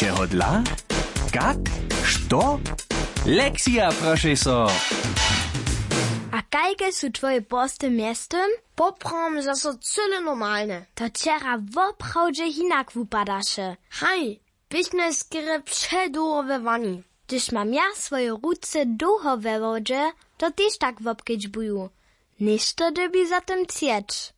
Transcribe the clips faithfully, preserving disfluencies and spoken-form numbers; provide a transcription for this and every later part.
Čehodla? Kak? Što? Lexija, prošej so. A kajke su twoje posty mjeztym? Poprawom zaso cyle normalne. To wčera woprawdźe hinak wupadaše. Haj, běchmy skerje předołho we wani. Hdyž mam ja swoje ruce dołho we wodźe, to tež tak wobkedźbuju. Něšto dyrbi za tym chceć.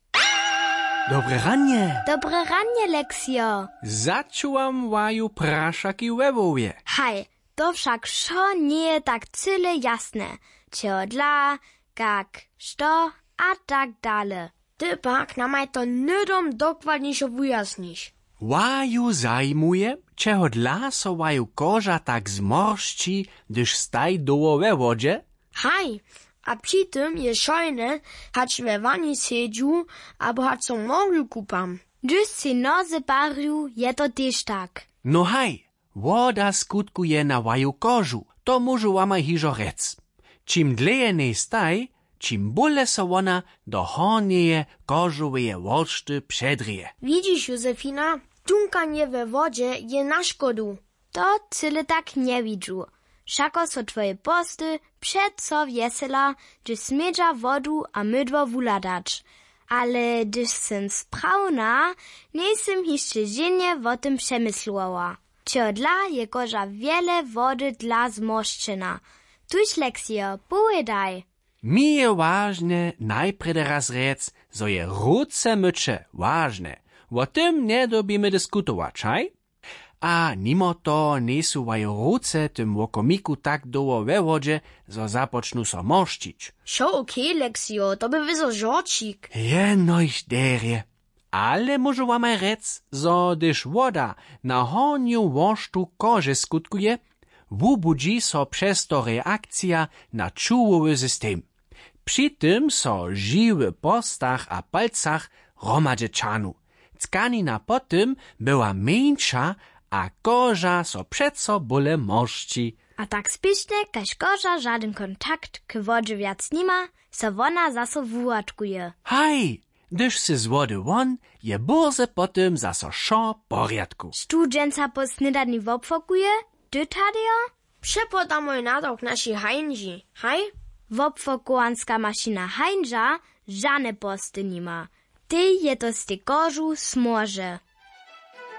Dobre ranje. Dobre ranje, Leksijo. Začuwam waju prašaki we hłowje. Haj, to wšak wšo njeje tak cyle jasne. Čehodla, kak, što a tak dale. Ty pak namaj to hnydom dokładnišo wujasniš. Waju zajimuje, čehodla so waju koža tak zmoršći, hdyž staj dołho we wodźe? Haj, a při tym je šojne, hač we wani sedźu abo hač so w morju kupam. Hdyž sej noze parju, je to tež tak. No haj, woda skutkuje na waju kožu, to móžu wamaj hižo rjec. Čim dlěje njej staj, čim bóle so wona do hornjeje kožoweje woršty předrěje. Widźiš, Józefina, tunkanje we wodźe je na škodu. To cyle tak njewidźu. Wšako so twoje posty přeco wjesela, hdyž smědźa wodu a mydło wuhladać. Ale hdyž sym sprawna, njejsym hišće ženje wo tym přemyslowała. Čehodla je koža wjele wody dla zmoršćena? Tuž, Leksijo, powědaj. Mi je wažne najprjedy raz rjec, zo je ruce myće wažne. Wo tym njedyrbimy diskutować, haj? A nimo toho njejsu waju ruce w tym wokomiku tak dołho we wodźe, zo započnu so moršćić. Wšo okej, Leksijo, to bě wězo žorćik. Jenož derje. Ale móžu wamaj rjec, zo hdyž woda na hornju worštu kože skutkuje, wubudźi so přez to reakcija na čuwowy system. Při tym so žiwy w porstach a palcach hromadźe ćahnu. Tkanina po tym bywa mjeńša a koža so přeco bóle moršći. A tak spěšnje, kaž koža žadyn kontakt k wodźe wjac nima, so wona zaso wuwatkuje. Haj, hdyž sy z wody won, je bórze po tym zaso wšo w porjadku. Štó dźensa po snědani wobfokuje, ty, Tadejo? Přepodamoj nadawk našej Hańži, haj? Wobfokowanska mašina Hańža žane posty nima. Tej je to z tej kožu smorže.